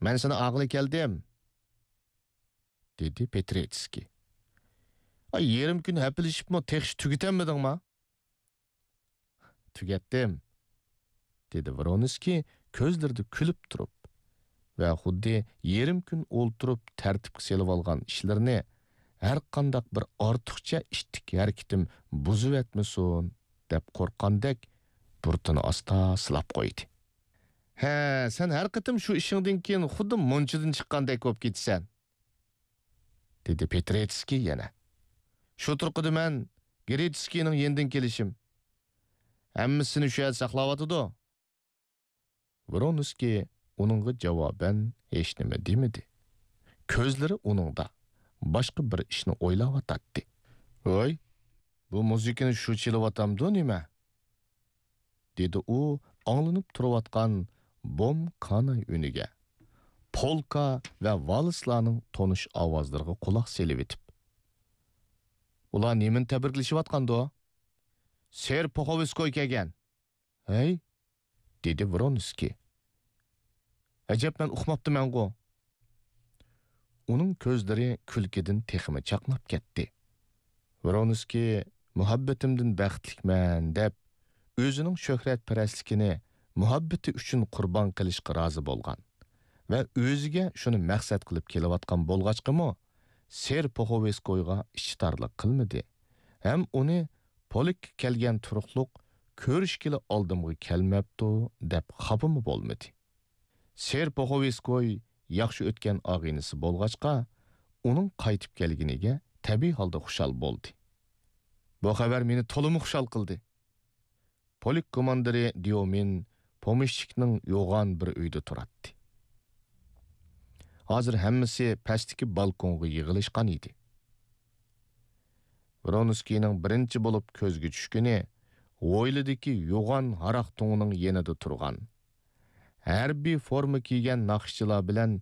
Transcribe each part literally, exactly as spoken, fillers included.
مەن سېنى ئاغىلى كەلدىم، دېدى پېترېتسكىي. ئاي، يېرىم كۈن ھەپىلىشىپمۇ تېخىچە تۈگىتەلمىدىڭما؟ تۈگەتتىم، دېدى ۋرونسكىي كۆزلىرىدە كۈلۈپ تۇرۇپ ۋە خۇددى يېرىم كۈن ئولتۇرۇپ تەرتىپكە سېلىۋالغان ئىشلىرىنى ھەرقانداق بىر ئارتۇقچە ئىتتىك ھەرىكىتىم بۇزۇۋەتمىسۇن دەپ قورققاندەك بۇرۇتىنى ئاستا سىلاپ قويدى. ھە، سەن ھەر قېتىم شۇ ئىشىڭدىن كېيىن خۇددى مۇنچىدىن چىققاندەك بولۇپ كېتىسەن، دېدى پېترېتسكىي يەنە. شۇ تۇرقىدا مەن گرېتسكىينىڭ يېنىدىن كېلىشىم. ھەممىسىنى شۇ يەردە ساقلاۋاتىدۇ. ۋرونسكىي ئۇنىڭغا جاۋابەن ھېچنېمە دېمىدى. كۆزلىرى ئۇنىڭدا باشقا بىر ئىشنى ئويلاۋاتاتتى. ۋاي، بۇ مۇزىكىنى شۇ چېلىۋاتامدۇ نېمە؟ دېدى ئۇ ئاڭلىنىپ تۇرۇۋاتقان بوم كاناي ئۈنىگە، پولكا ۋە ۋالسلارنىڭ تونۇش ئاۋازلىرىغا قۇلاق سېلىۋېتىپ. ئۇلار نېمىنى تەبرىكلىشىۋاتقاندۇ؟ سېر پوخوۋسكوي كەلگەن. ھەي؟ دېدى ۋرونسكىي. ئەجەب، مەن ئۇقماپتىمەنغۇ؟ ئۇنىڭ كۆزلىرى كۈلكىدىن تېخىمۇ چاقناپ كەتتى. ۋرونسكىي مۇھەببىتىمدىن بەختلىكمەن دەپ، ئۆزىنىڭ شۆھرەتپەرەسلىكىنى مۇھەببىتى ئۈچۈن قۇربان قىلىشقا رازى بولغان ۋە ئۆزىگە شۇنى مەقسەت قىلىپ كېلىۋاتقان بولغاچقىمۇ، سېر پوخوۋسكويغا ئىچى تارلىق قىلمىدى ھەم ئۇنى پولككا كەلگەن تۇرۇقلۇق كۆرۈشكىلى ئالدىمغا كەلمەپتۇ دەپ خاپىمۇ بولمىدى. سېر پوخوۋسكوي ياخشى ئۆتكەن ئاغىنىسى بولغاچقا، ئۇنىڭ قايتىپ كەلگىنىگە تەبىئىي ھالدا خۇشال بولدى. بۇ خەۋەر مېنى تولىمۇ خۇشال قىلدى. پولك كوماندىرى ديومىن پومېشچىكنىڭ يوغان بىر ئۆيىدە تۇراتتى. ھازىر ھەممىسى پەستىكى بالكونغا يىغىلىشقان ئىدى. ۋرونسكىينىڭ بىرىنچى بولۇپ كۆزگە چۈشكىنى ھويلىدىكى يوغان ھاراق تۇڭىنىڭ يېنىدا تۇرغان، ھەربىي فورما كىيگەن ناخشىچىلار بىلەن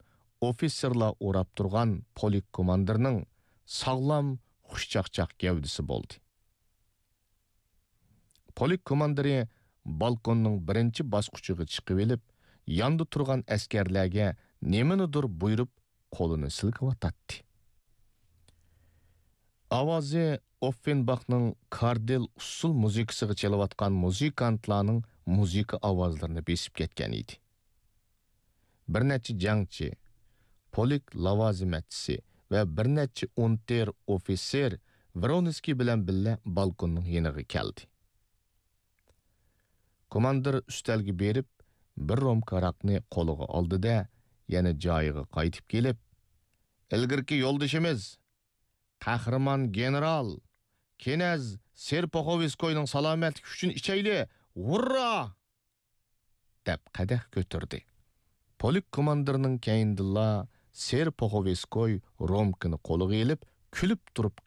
ئوفىتسېرلار ئوراپ تۇرغان پولك كوماندىرنىڭ ساغلام، خۇشچاقچاق گەۋدىسى بولدى. پولك كوماندىرى بالكوننىڭ بىرىنچى باسقۇچىغا چىقىۋېلىپ، ياندا تۇرغان ئەسكەرلەرگە نېمىنىدۇر بۇيرۇپ، قولىنى سىلكىۋاتاتتى. ئاۋازى ئوففېنباخنىڭ كاردېل ئۇسسۇل مۇزىكىسىغا چېلىۋاتقان مۇزىكانتلارنىڭ مۇزىكا ئاۋازلىرىنى بېسىپ كەتكەن ئىدى. بىر نەچچە جەڭچى، پولك لاۋازىمەتچىسى ۋە بىر نەچچە ئۇنتېر ئوفىتسېر ۋرونسكىي بىلەن بىللە بالكوننىڭ يېنىغا كەلدى. كوماندىر ئۈستەلگە بېرىپ، بىر رومكا ھاراقنى قولىغا ئالدى-دە، يەنە جايىغا قايتىپ كېلىپ، «ئىلگىرىكى يولدىشىمىز، قەھرىمان گېنېرال، كىنەز سېرپوخوۋسكوينىڭ سالامەتلىكى ئۈچۈن ئىچەيلى! ھۇررا!» دەپ قەدەھ كۆتۈردى. پولك كوماندىرىنىڭ كەينىدىنلا سېرپوخوۋسكوي رومكىنى قولىغا ئېلىپ، كۈلۈپ تۇرۇپ